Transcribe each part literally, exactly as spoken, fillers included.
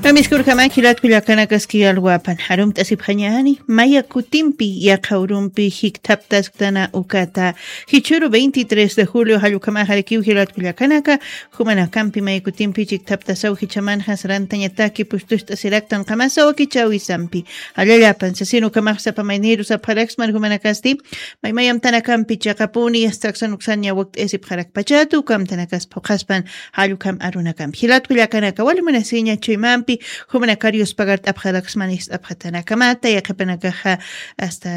Amiskurkama jilatku llakanakaski alwapan. Arumt'asipxañani, maya kutimpi, yaqha urumpi, jikthaptasktana ukata. Jichhuru veintitrés de julio jallukamaxarakiw jilatku llakanaka, jumanakampi maya kutimpi jikthaptasaw jichhamanxa sarantañataki pustust'asiraktan qamasaw kichawisampi. Allallapan, sasin ukamax sapa mayniru sapxaraksman jumanakasti, maymayamtanakampi chiqapuni, astaksan uksan ñawakt'isipxarakpachatu, ukamtanakas phuqhaspan, jallukam arunakampi. Jilatku llakanaka, wali munasiña chuymampi, jumanakar yuspagart'apxaraksman ist'apxatanakamata, yaqhipanakaxa hasta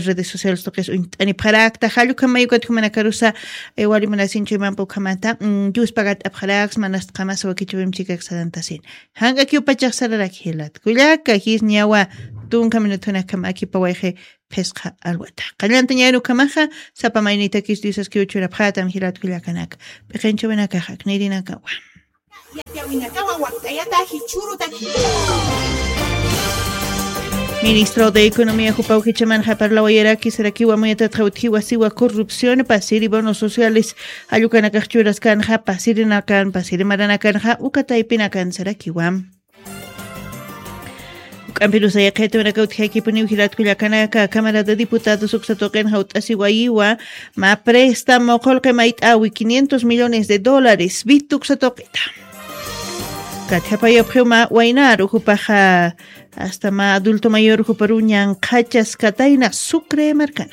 redes sociales tuqis uñt'anipxarakta, jallukam mayukat jumanakarusa, eh, wali munasiña chuymampi ukhamata, mm, yuspagart'apxaraksman asta qamasa wakichawim chikak sarantasin. Janq'akiw pachax sararaki jilatku llaka, jis ñawa tunka minutunakam akipawayxi phisqa alwata. Qallantañaru ukhamaxa, sapa maynitakis Diosaskiw churapxatam jilatku llakanaka. P'iqinchawinakaxa, aknirinakawa. Yatiyawinakawa wakt'ayata jichhurutaki. Ministro de Economía jupaw jichhamanxa parlawayaraki sarakiwa muyatatxa utjiwa siwa corrupción pasiri bonos sociales jallukanakanxa churaskanxa pasirinakan pasiri maranakanxa uka taypinakan sarakiwa. Juk'ampirusa yaqhayta uraka utjakipuniw jilatku llakanaka, Cámara de Diputados uksa tuqinxa ut'asiwayiwa, mä préstamo qullqi mayt'awi quinientos millones de dólares, vit uksa tuqita. Katjapayapxiw mä waynaru jupaxa, hasta mä adulto mayor juparu ñanqhachas katayna Sucre markana.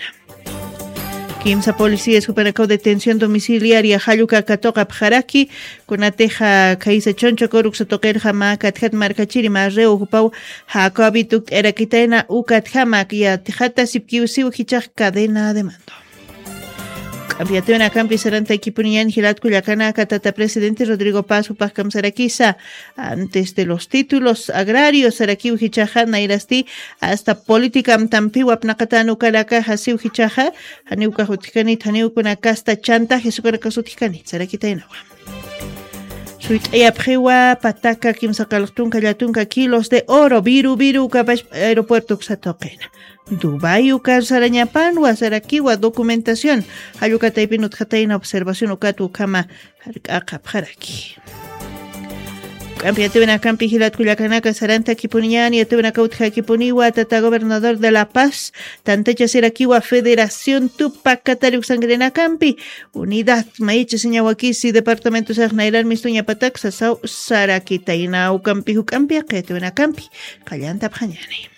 Kimsa policías jupanakaw detención domiciliaria jalluka katuqapxaraki, kunatixa khaysa chuncha kuruksa tuqirxa mä katjat markachiri mä reo jupaw jakuabi tukt'irakitayna ukatjama yatijata sipkiw siw jichax cadena de mando. K'ampiatiwinakampi sarantaykipuniñan jilatku llakanaka tata presidente Rodrigo Paz jupax kamsarakisa, antes de los títulos agrarios sarakiw jichaxa nayrasti hasta política amtampiw apnaqatan ukanakaxa siw jichaxa, janiw ukax utjkanit, janiw ukunakasta chantajes ukanakas utjkanit sarakitaynawa. Suyt'ayapxiwa pataka kimsa qallq tunka llatunka kilos de oro, viru viru ukapash aeropuerto uksa tuqina. Dubái ukar sarañapanwa sarakiwa documentación, jallukataypin utjatayna observación ukat ukhama jark'aqapxaraki. K'ampi atiwinakampi jilatku llakanaka sarantakipuniñani, atiwinaka utjakipuniwa tata gobernador de La Paz, tantachasirakiwa Federación Tupac Katari uksankarinakampi, unidad mayichasiñawakisi departamentosax nayran mistuñapatak sasaw sarakitayna ukampi juk'ampi aqi atiwinakampi qallantapxañani.